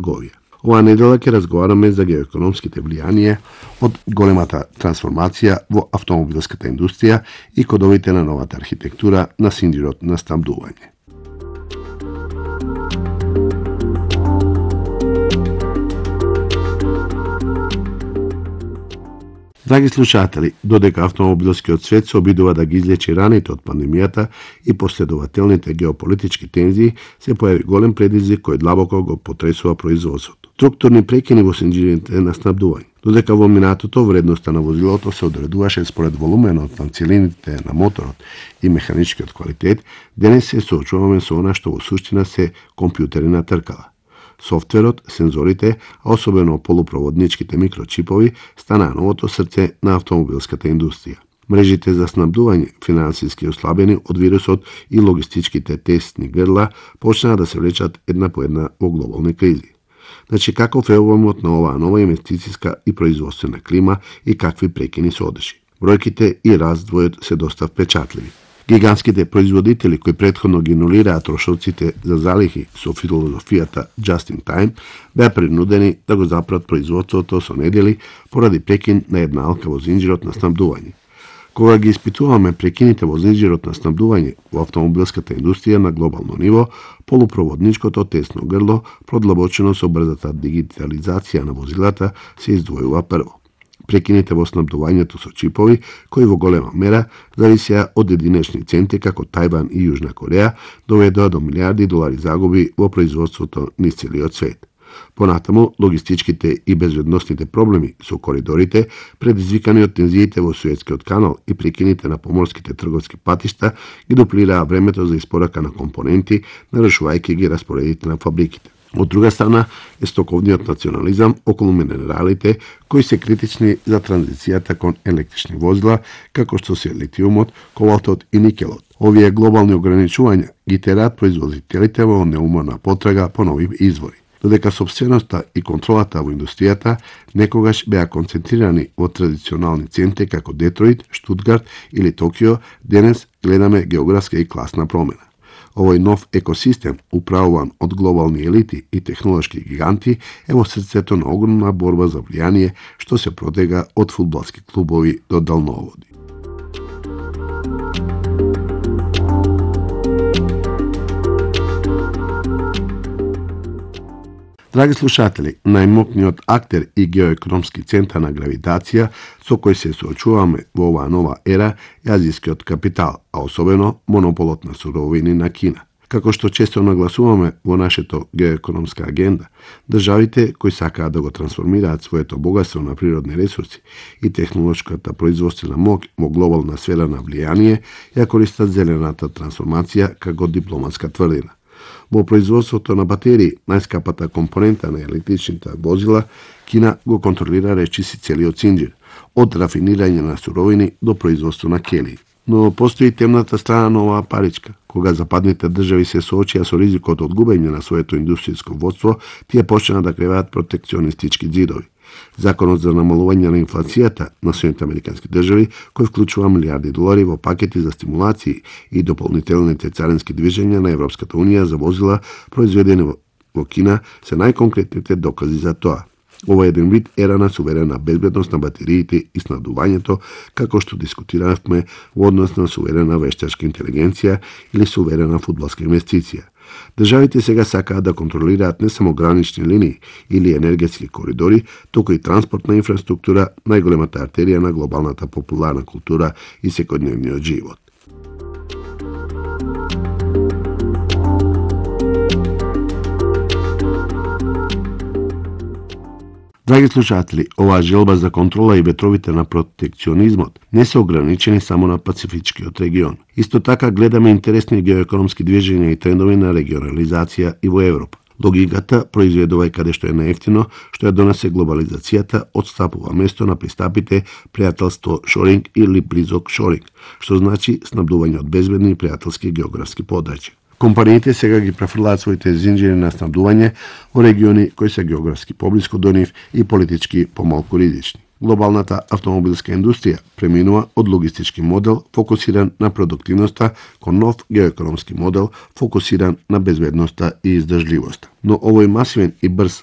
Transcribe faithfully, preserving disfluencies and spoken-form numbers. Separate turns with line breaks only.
трговија. Оваа недела ќе разговараме за геоекономските влијанија од големата трансформација во автомобилската индустрија и кодовите на новата архитектура на синџирот на снабдување. Драги слушатели, додека автомобилскиот свет се обидува да ги излечи раните од пандемијата и последователните геополитички тензии, се појави голем предизвик кој длабоко го потресува производството. Структурни прекини во синџирите на снабдување. Додека во минатото вредноста на возилото се одредуваше според волуменот на целините на моторот и механичкиот квалитет, денес се соочуваме со она што во суштина се компјутери на тркала. Софтверот, сензорите, а особено полупроводничките микрочипови, станаа новото срце на автомобилската индустрија. Мрежите за снабдување, финансиски ослабени од вирусот и логистичките тесни грла, почнаа да се влечат една по една во глобални кризи. Значи, каков е обемот на оваа нова инвестициска и производствена клима и какви прекини се одеши? Бројките и раздвојот се доста впечатливи. Гигантските производители кои претходно ги нулираа трошоците за залихи со филозофијата just in time, беа принудени да го запрат производството со недели поради прекин на една алка во зинџирот на снабдување. Кога ги испитуваме прекините во зинџирот на снабдување во автомобилската индустрија на глобално ниво, полупроводничкото тесно грло, продлабочено со брзата дигитализација на возилата, се издвојува прво. Прекините во снабдувањето со чипови, кои во голема мера зависеа од единечни центи како Тајван и Јужна Кореја, доведоа до милиарди долари загуби во производството низ целиот свет. Понатаму, логистичките и безбедносните проблеми со коридорите, предизвикани од тензиите во Суетскиот канал и прекините на поморските трговски патишта, ги дуплираа времето за испорака на компоненти, нарушувајќи ги распоредите на фабриките. Од друга страна е стоковниот национализам околу минералите, кои се критични за транзицијата кон електрични возила, како што се литиумот, кобалтот и никелот. Овие глобални ограничувања ги тераат производителите во неуморна потрага по нови извори. Додека собственоста и контролата во индустријата некогаш беа концентрирани во традиционални центри како Детройт, Штутгарт или Токио, денес гледаме географска и класна промена. Овој нов екосистем, управуван од глобални елити и технолошки гиганти, е во срцето на огромна борба за влијание што се протега од фудбалски клубови до далноводи. Драги слушатели, најмокниот актер и геоекономски центар на гравитација со кој се соочуваме во оваа нова ера е азијскиот капитал, а особено монополот на суровини на Кина. Како што често нагласуваме во нашето геоекономска агенда, државите кои сакаат да го трансформираат своето богатство на природни ресурси и технолошката производствена моќ во глобална сфера на влијание, ја користат зелената трансформација како дипломатска тврдина. Во производството на батерии, најскапата компонента на електричните возила, Кина го контролира речиси целиот синџир, од рафинирање на суровини до производство на келии. Но постои темната страна на оваа паричка. Кога западните држави се соочија со ризикот од губење на своето индустријско водство, тие почнаа да креваат протекционистички ѕидови. Законот за намалување на инфлацијата на Соединетите американски држави, кој вклучува милиарди долари во пакети за стимулации и дополнителните царински движења на Европската унија за возила произведени во Кина, се најконкретните докази за тоа. Ова е еден вид ера на суверена безбедност на батериите и снабдувањето, како што дискутиравме во однос на суверена вештачка интелигенција или суверена фудбалска инвестиција. Државите сега сакаат да контролираат не само гранични линии или енергетски коридори, туку и транспортна инфраструктура, најголемата артерија на глобалната популарна култура и секојдневниот живот. Драги слушатели, оваа желба за контрола и ветровите на протекционизмот не се ограничени само на Пацифичкиот регион. Исто така гледаме интересни геоекономски движења и трендови на регионализација и во Европа. Логиката произведува каде што е наевтино, што ја донесе глобализацијата, отстапува место на пристапите пријателство шоринг или близок шоринг, што значи снабдување од безбедни и пријателски географски подрачја. Компаниите сега ги префрлаат своите зинџири на снабдување во региони кои се географски поблиску до нив и политички помалку ризични. Глобалната автомобилска индустрија преминува од логистички модел фокусиран на продуктивноста кон нов геоекономски модел фокусиран на безбедноста и издржливоста. Но овој масивен и брз